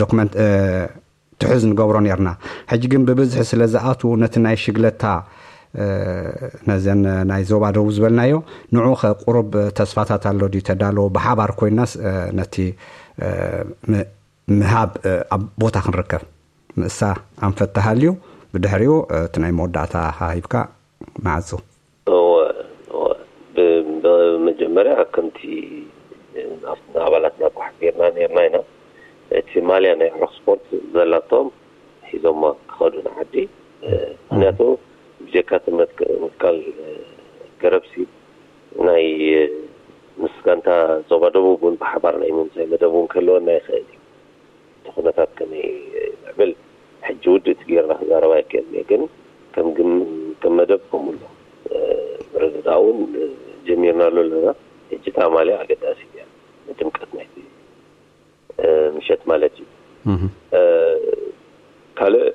ዶክመንት ትሕዝ ንገብሮ ነርና። ሕጂ ግን ብብዝሒ ስለ ዝኣትዉ ነቲ ናይ ሽግለታ ነዘን ናይ ዞባ ደቡብ ዝበልናዮ ንዑ ከቁሩብ ተስፋታት ኣሎ ድዩ ተዳለዎ ብሓባር ኮይናስ ነቲ ምሃብ ኣብ ቦታ ክንርከብ ምእሳ ኣንፈት ተሃልዩ ብድሕሪኡ እቲ ናይ መወዳእታ ሃሂብካ መዓጹ። ብመጀመርያ ከምቲ ንኣባላትና እኳ ሓቢርና ነርና ኢና። እቲ ማልያ ናይ ዕሩኽ ስፖርት ዘላቶም ሒዞሞ ክኸዱ ንዓዲ። ምክንያቱ ብጀካ ትምህርት ምትካል ገረብሲ ናይ ምስ ጋንታ ዞባ ደቡብ እውን ብሓባር ናይ ምምሳይ መደብ እውን ክህልወና ይኽእል እዩ። እቲ ኩነታት ከመይ ይምዕብል ሕጂ ውድእቲ ጌርና ክዛረብ ኣይክእልን እየ፣ ግን ከም ግን ከም መደብ ከምኡ ኣሎ። ምርድዳእ እውን ጀሚርናሉ ኣለና። ሕጂ እታ ማልያ ኣገዳሲት እያ ንድምቀት ናይቲ ምሸት ማለት እዩ። ካልእ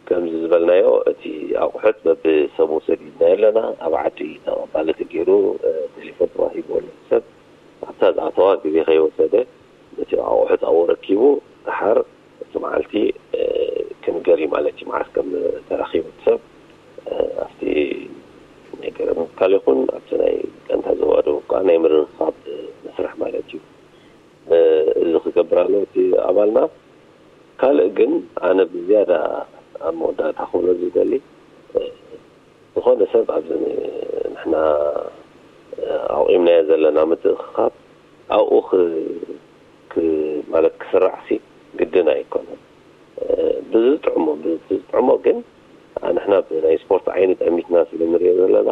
ከምዚ ዝበልናዮ እቲ ኣቑሑት በብሰቡ ሰዲድናዮ ኣለና። ኣብ ዓዲ ተቐባሊ ተገይሩ ቴሌፎን ተዋሂብዎ ነቲ ሰብ ኣብታ ዝኣተዋ ግዜ ከይወሰደ ነቲ ኣቑሑት ኣብኡ ረኪቡ ደሓር እቲ መዓልቲ ክንገር እዩ ማለት እዩ። መዓስ ከም ተረኺቡ እቲ ሰብ ኣብቲ ናይ ገረብ ምትካል ይኹን ኣብቲ ናይ ቀንታ ዞባ ደቡብ ከዓ ናይ ምርኽኻብ መስርሕ ማለት እዩ። እዚ ክገብር ኣለዎ እቲ ኣባልና። ካልእ ግን ኣነ ብዝያዳ ኣብ መወዳእታ ክብሎ ዝደሊ ዝኾነ ሰብ ኣብዚ ንሕና ኣቑምናዮ ዘለና ምትእኽኻብ ኣብኡ ማለት ክስራዕሲ ግድን ኣይኮነን። ብዝጥዕሞ ብዝጥዕሞ ግን ንሕና ብናይ ስፖርት ዓይኒ ጠሚትና ስለ ንሪኦ ዘለና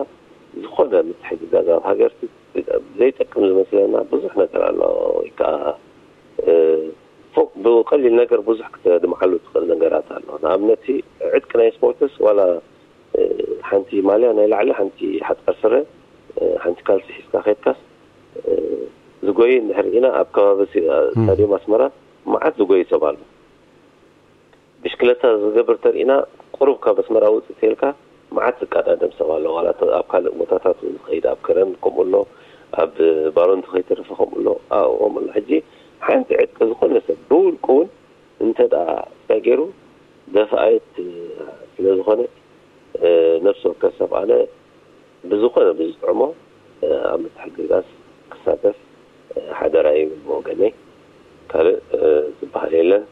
ዝኾነ ምትሕግጋዝ ኣብ ሃገር ዘይጠቅም ዝመስለና ብዙሕ ነገር ኣሎ። ወይ ከዓ ፎቅ ብቀሊል ነገር ብዙሕ ክተድምዓሉ ትኽእል ነገራት ኣሎ። ንኣብነት ዕጥቂ ናይ ስፖርትስ ዋላ ሓንቲ ማልያ ናይ ላዕሊ ሓንቲ ሓፃር ስረ ሓንቲ ካልሲ ሒዝካ ከድካስ ዝጎይ እንድሕር ኢና ኣብ ከባቢ ስታዲየም ኣስመራ መዓት ዝጎይ ሰብ ኣሎ። ብሽክለታ ዝገብር ተርኢና ቁሩብ ካብ ኣስመራ ውፅእ ተልካ መዓት ዝቀዳደም ሰብ ኣሎ። ዋላ ኣብ ካልእ ቦታታት ዝኸይድ ኣብ ከረን ከምኡ ኣሎ፣ ኣብ ባሮንቱ ከይተረፈ ከምኡ ኣሎ። ከምኡ ኣሎ። ሕጂ ሓንቲ ዕጥቂ ዝኾነ ሰብ ብውልቁ እውን እንተ ደኣ እንታይ ገይሩ ደፋኣየት ስለ ዝኾነት ነፍሲ ወከፍ ሰብ ኣነ ብዝኾነ ብዝጥዕሞ ኣብ ምትሕግጋዝ ክሳተፍ ሓደራ ይብል ብወገነይ። ካልእ ዝበሃል የለን።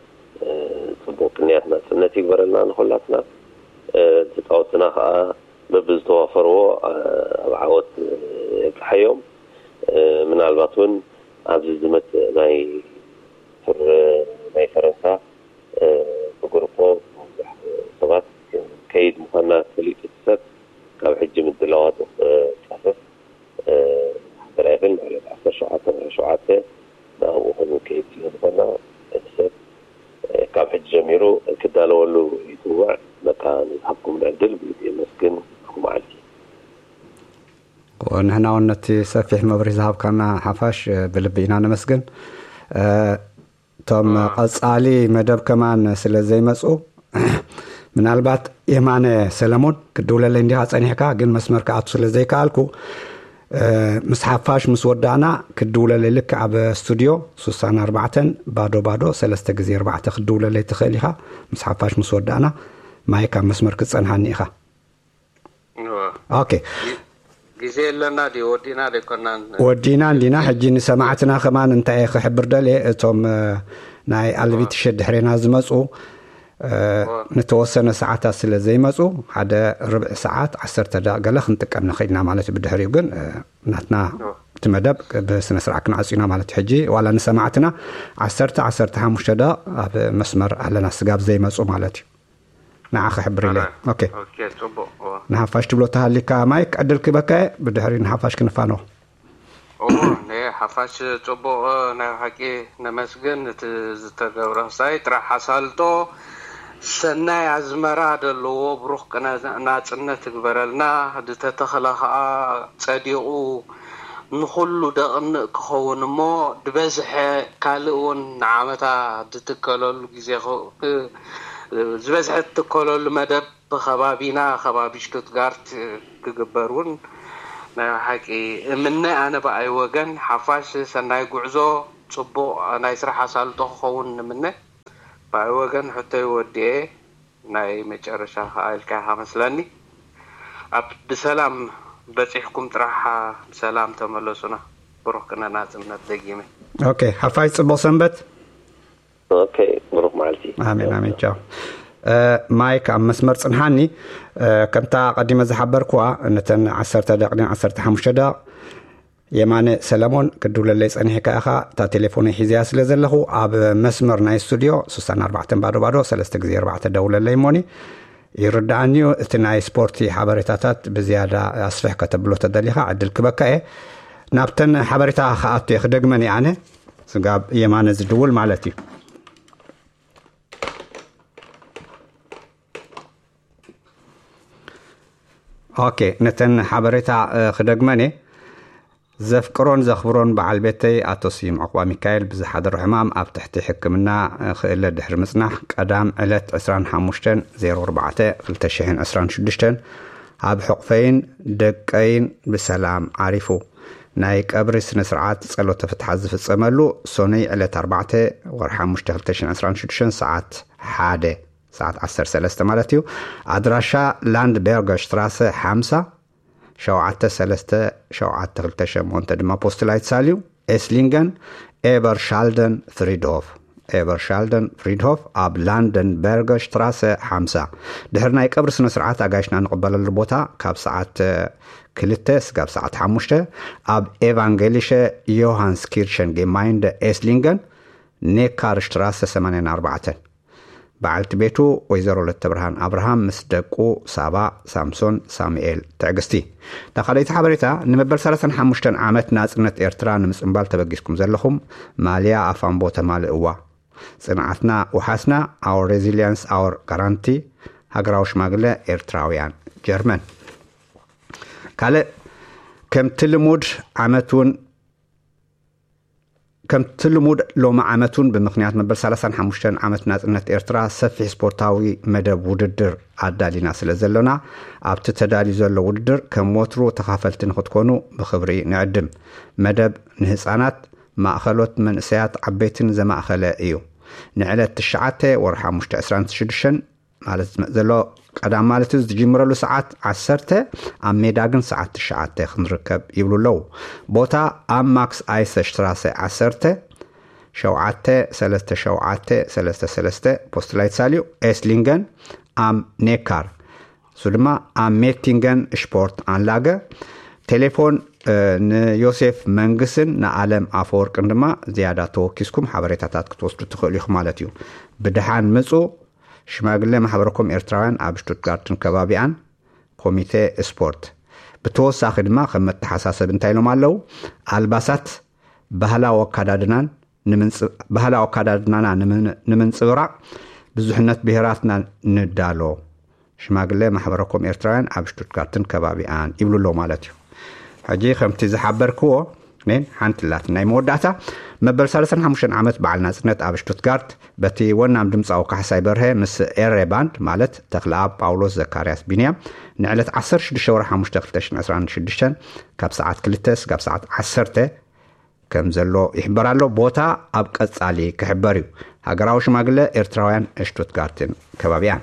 ፅቡቅ ቅንያት ናፅነት ይግበረልና ንኩላትና። ተፃወትና ከዓ በብዝተዋፈርዎ ኣብ ዓወት የብፅሓዮም። ምናልባት እውን ኣብዚ ዝመፅእ ናይ ቱር ናይ ፈረንሳ ብግሩፖ ብዙሕ ሰባት ከይድ ምኳንና ተፈሊጡ እቲ ሰብ ካብ ሕጂ ምድላዋቱ ክፀፍፍ ሓደራ ይብል ማለት ዓሰርተ ሸውዓተ ወርሒ ሸውዓተ ናብኡ ክንከይድ ስለ ዝኾና እቲ ሰብ ካብ ሕጂ ጀሚሩ ክዳለወሉ ይፅውዕ። በቃ ንዝሃብኩም ዕድል ብልቢ የመስግን። ብሩኽ መዓልቲ። ንሕና እውን ነቲ ሰፊሕ መብርሂ ዝሃብካና ሓፋሽ ብልቢ ኢና ነመስግን። እቶም ቀፃሊ መደብ ከማን ስለ ዘይመፁ ምናልባት የማነ ሰለሞን ክድውለለይ እንዲኻ ፀኒሕካ ግን መስመር ክኣቱ ስለ ዘይከኣልኩ ምስ ሓፋሽ ምስ ወዳእና ክድውለለይ ልክዕ ኣብ ስቱድዮ ሱሳን ኣርባዕተን ባዶ ባዶ ሰለስተ ግዜ ኣርባዕተ ክድውለለይ ትኽእል ኢኻ። ምስ ሓፋሽ ምስ ወዳእና ማይክ ኣብ መስመር ክትፀንሓኒ ኢኻ። ኦኬ ግዜ የለና ድዩ? ወዲና ደይኮናን? ወዲና እንዲና። ሕጂ ንሰማዕትና ከማን እንታይ ክሕብር ደልየ፣ እቶም ናይ ኣልቢትሸ ድሕሬና ዝመፁ ንተወሰነ ሰዓታት ስለ ዘይመፁ ሓደ ርብዒ ሰዓት ዓሰርተ ደቂቕ ገለ ክንጥቀም ንኽእል ኢና ማለት እዩ። ብድሕሪኡ ግን ናትና እቲ መደብ ብስነ ስርዓት ክንዓፁ ኢና ማለት እዩ። ሕጂ ዋላ ንሰማዕትና ዓሰርተ ዓሰርተ ሓሙሽተ ደቂቕ ኣብ መስመር ኣለና ስጋብ ዘይመፁ ማለት እዩ። ንዓ ክሕብር ኢለ። ኦኬ። ኦኬ፣ ጽቡቕ። እወ። ንሓፋሽ ትብሎ ተሃሊካ ማይክ ዕድል ክበካ እየ፣ ብድሕሪ ንሓፋሽ ክንፋነው። እወ፣ ንሓፋሽ ጽቡቕ ናይ ሓቂ ነመስግን እቲ ዝተገብረ ምሳይ ጥራሕ ኣሳልጦ ሰናይ ኣዝመራ ደለዎ ብሩኽ ቅነ ናጽነት ትግበረልና ዝተተኽለ ኸኣ ጸዲቑ ንኹሉ ደቕንእ ክኸውን እሞ ድበዝሐ ካልእ እውን ንዓመታ ድትከለሉ ግዜ ዝበዝሐ እትከለሉ መደብ ብከባቢና ከባቢ ሽቱትጋርት ክግበር እውን ናይ ሓቂ እምነ ኣነ ብኣይ ወገን ሓፋሽ ሰናይ ጉዕዞ ጽቡቕ ናይ ስራሕ ኣሳልጦ ክኸውን ንምነ። ብኣይ ወገን ሕቶይ ወዲኤ፣ ናይ መጨረሻ ከኣ ኢልካ ኢኻ መስለኒ። ኣብ ብሰላም በጺሕኩም ጥራሕ ብሰላም ተመለሱና። ብሩኽ ቅነ ናጽነት ደጊመ። ኦኬ፣ ሓፋይ ጽቡቕ ሰንበት። ኦኬ፣ ብሩኽ መዓልቲ። ኣሜን፣ ኣሜን። ቻው። እ፣ ማይክ ኣብ መስመር ጽንሓኒ። እ፣ ከምታ ቀዲመ ዝሓበርኩዋ፣ ነተን ዓሰርተ ደቂቕን ዓሰርተ ሓሙሽተ ደቂቕ የማነ ሰለሞን ክድውለለይ ጸኒሕካ ኢኻ። እታ ቴሌፎነይ ሒዘያ ስለ ዘለኹ፣ ኣብ መስመር ናይ ስቱድዮ ሱሳን ኣርባዕተን ባዶ ባዶ ሰለስተ ግዜ ኣርባዕተ ደውለለይ እሞኒ። ይርድኣኒ እዩ። እቲ ናይ ስፖርቲ ሓበሬታታት ብዝያዳ ኣስፍሕ ከተብሎ ተደሊኻ ዕድል ክበካ እየ። ናብተን ሓበሬታ ክኣቱ እየ፣ ክደግመን እየ ኣነ። ስጋብ የማነ ዝድውል ማለት እዩ። ኦኬ፣ ነተን ሓበሬታ፣ እ፣ ክደግመን እየ። ዘፍቅሮን ዘኽብሮን በዓል ቤተይ ኣቶ ስዩም ዕቑባ ሚካኤል ብዝሓደሮ ሕማም ኣብ ትሕቲ ሕክምና፣ እ፣ ክእለ ድሕሪ ምጽናሕ ቀዳም ዕለት ዕስራን ሓሙሽተን ዜሮ ኣርባዕተ ክልተ ሽሕን ዕስራን ሽዱሽተን ኣብ ሕቑፈይን ደቀይን ብሰላም ዓሪፉ። ናይ ቀብሪ ስነ ስርዓት ጸሎተ ፍትሓት ዝፍጸመሉ ሶኑይ ዕለት ኣርባዕተ ወርሒ ሓሙሽተ ክልተ ሽሕን ዕስራን ሽዱሽተን ሰዓት ሓደ፣ ሰዓት ዓሰርተ ሰለስተ ማለት እዩ። ኣድራሻ ላንድበርገ ሽትራሰ ሓምሳ፣ ሸውዓተ ሰለስተ ሸውዓተ ክልተ ሸሞንተ ድማ ፖስትላይት ሳልዩ ኤስሊንገን ኤበርሻልደን ፍሪድሆፍ፣ ኤበርሻልደን ፍሪድሆፍ ኣብ ላንደንበርገ ሽትራሰ ሓምሳ። ድሕሪ ናይ ቀብሪ ስነ ስርዓት ኣጋይሽና ንቕበለሉ ቦታ ካብ ሰዓት ክልተ ስጋብ ሰዓት ሓሙሽተ ኣብ ኤቫንጌሊሸ ዮሃንስ ኪርሸን ጌማይንደ ኤስሊንገን ኔካር ሽትራሰ ሰማንያን ኣርባዕተን። በዓልቲ ቤቱ ወይዘሮ ለተብርሃን ኣብርሃም ምስ ደቁ ሳባ፣ ሳምሶን፣ ሳሙኤል፣ ትዕግስቲ። እታ ካልኣይቲ ሓበሬታ፣ ንመበል ሰላሳን ሓሙሽተን ዓመት ናጽነት ኤርትራ ንምጽንባል ተበጊስኩም ዘለኹም ማልያ ኣፋምቦ ተማልእዋ። ጽንዓትና ውሓስና፣ our resilience our guarantee፣ ሃገራዊ ሽማግለ ኤርትራውያን ጀርመን። ካልእ፣ ከምቲ ልሙድ ዓመት እውን ከምቲ ልሙድ ሎሚ ዓመት እውን ብምኽንያት መበል ሰላሳን ሓሙሽተን ዓመት ናጽነት ኤርትራ ሰፊሕ ስፖርታዊ መደብ ውድድር ኣዳሊና ስለ ዘሎና፣ ኣብቲ ተዳልዩ ዘሎ ውድድር ከም ወትሩ ተኻፈልቲ ንኽትኮኑ ብኽብሪ ንዕድም። መደብ ንህጻናት፣ ማእኸሎት መንእሰያት ዓበይትን ዘማእኸለ እዩ። ንዕለት ትሽዓተ ወርሒ ሓሙሽተ ዕስራን ሽዱሽተን ማለት ዝመጽእ ዘሎ ቀዳም ማለት እዩ። ዝጅምረሉ ሰዓት ዓሰርተ፣ ኣብ ሜዳ ግን ሰዓት ትሽዓተ ክንርከብ ይብሉ ኣለዉ። ቦታ ኣብ ማክስ ኣይሰ ሽትራሰ ዓሰርተ፣ ሸውዓተ ሰለስተ ሸውዓተ ሰለስተ ሰለስተ ፖስትላይት ሳልዩ ኤስሊንገን ኣም ኔካር፣ እሱ ድማ ኣብ ሜቲንገን ሽፖርት ኣንላገ። ቴሌፎን፣ እ፣ ንዮሴፍ መንግስን ንኣለም ኣፈወርቅን ድማ ዝያዳ ተወኪስኩም ሓበሬታታት ክትወስዱ ትኽእሉ ኢኹም ማለት እዩ። ብድሓን ምጹ። ሽማግለ ማሕበረኮም ኤርትራውያን ኣብ ሽቱትጋርትን ከባቢኣን፣ ኮሚቴ ስፖርት። ብተወሳኺ ድማ ከም መተሓሳሰቢ እንታይ ኢሎም ኣለዉ? ኣልባሳት፣ ባህላዊ ኣካዳድናን ንምንጽ-፣ ባህላዊ ኣካዳድናና ንምን-፣ ንምንጽብራቕ ብዙሕነት ብሄራትና ንዳሎ። ሽማግለ ማሕበረኮም ኤርትራውያን ኣብ ሽቱትጋርትን ከባቢኣን ይብሉ ኣለዉ ማለት እዩ። ሕጂ ከምቲ ዝሓበርክዎ ኔን ሓንቲ ላት ናይ መወዳእታ፣ መበል ሰላሳን ሓሙሽተን ዓመት በዓል ናጽነት ኣብ ሽቱትጋርት በቲ ወናም ድምጻዊ ካሕሳይ በርሀ ምስ ኤሬ ባንድ ማለት ተኽለኣብ ጳውሎስ ዘካርያስ ቢንያም ንዕለት ዓሰርተ ሽዱሽተ ወርሒ ሓሙሽተ ክልተ ሽሕን ዕስራን ሽዱሽተን ካብ ሰዓት ክልተ ስጋብ ሰዓት ዓሰርተ ከም ዘሎ ይሕበር ኣሎ። ቦታ ኣብ ቀጻሊ ክሕበር እዩ። ሃገራዊ ሽማግለ ኤርትራውያን ሽቱትጋርትን ከባቢኣን።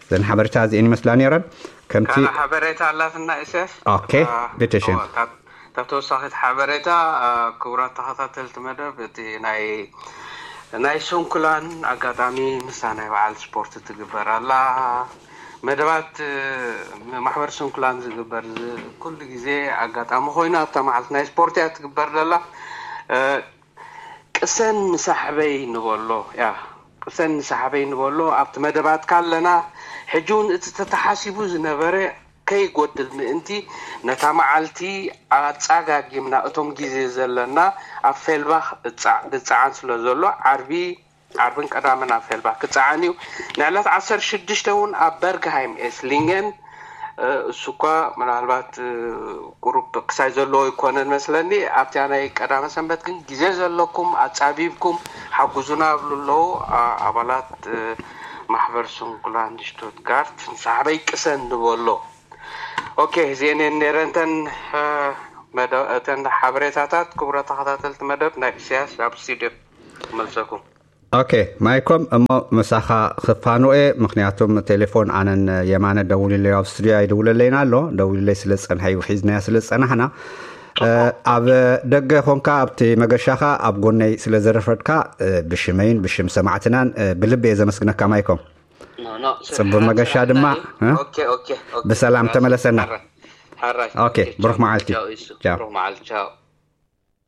እዘን ሓበሬታ እዚኤን ይመስላ ነይረን። ከምቲ ካልእ ሓበሬታ ኣላትና ኢሰፍ። ኦኬ፣ አ፣ ቤተሽን። እወ፣ ካብ ካብ ተወሳኺት ሓበሬታ፣ አ፣ ክቡራት ተኸታተልቲ መደብ፣ እቲ ናይ ናይ ሱንኩላን ኣጋጣሚ ንሳ ናይ በዓል ስፖርት ትግበር ኣላ። መደባት፣ እ፣ ማሕበር ሱንኩላን ዝግበር ዝ-፣ ኩሉ ግዜ ኣጋጣሚ ኮይኑ ኣብታ መዓልቲ ናይ ስፖርት እያ ትግበር ዘላ። እ፣ ቅሰን ንሳሕበይ ንበሎ፣ ያ፣ ቅሰን ንሳሕበይ ንበሎ ኣብቲ መደባትካ ኣለና። ሕጂ እውን እቲ ተተሓሲቡ ዝነበረ ከይጎድል ምእንቲ ነታ መዓልቲ ኣጻጋጊምና እቶም ግዜ ዘለና ኣብ ፌልባኽ እጻዕ-፣ ንጻዓን ስለ ዘሎ ዓርቢ፣ ዓርብን ቀዳምን ኣብ ፌልባኽ ክጻዓን እዩ። ንዕለት ዓሰርተ ሽዱሽተ እውን ኣብ በርግሃይም ኤስሊንገን፣ እ፣ እሱ እኳ ምናልባት፣ እ፣ ቁሩብ ክሳይ ዘለዎ ይኮነን መስለኒ። ኣብቲያ ናይ ቀዳመ ሰንበት ግን ግዜ ዘለኩም ኣጻቢብኩም ሓጉዙና ይብሉ ኣለዉ። ኣ-፣ ኣባላት፣ እ፣ ማሕበር ሱንኩላንድ ሽቱትጋርት ንሳሕበይ ቅሰን ንበሎ። ኦኬ፣ እዚኤን እየን ነይረን እተን፣ እ፣ መደ-፣ እተን ሓበሬታታት። ክቡራት ተኸታተልቲ መደብ፣ ናብ ኢሳያስ ኣብ ስቱድዮ ክመልሰኩም። ኦኬ ማይኮም፣ እሞ ምሳኻ ክፋንወ፣ ምክንያቱም ቴሌፎን ኣነን የማነ ደውልለይ ኣብ ስቱዲዮ ኣይደውለለይና ኣሎ። ደውልለይ ስለ ዝጸንሐ እዩ ሒዝናያ ስለ ዝጸናሕና። ኣብ ደገ ኾንካ ኣብቲ መገሻኻ ኣብ ጎነይ ስለ ዘረፈድካ ብሽመይን ብሽም ሰማዕትናን ብልቢ እየ ዘመስግነካ ማይኮም። ጽቡቅ መገሻ ድማ ብሰላም ተመለሰና። ኦኬ ብሩክ መዓልቲ።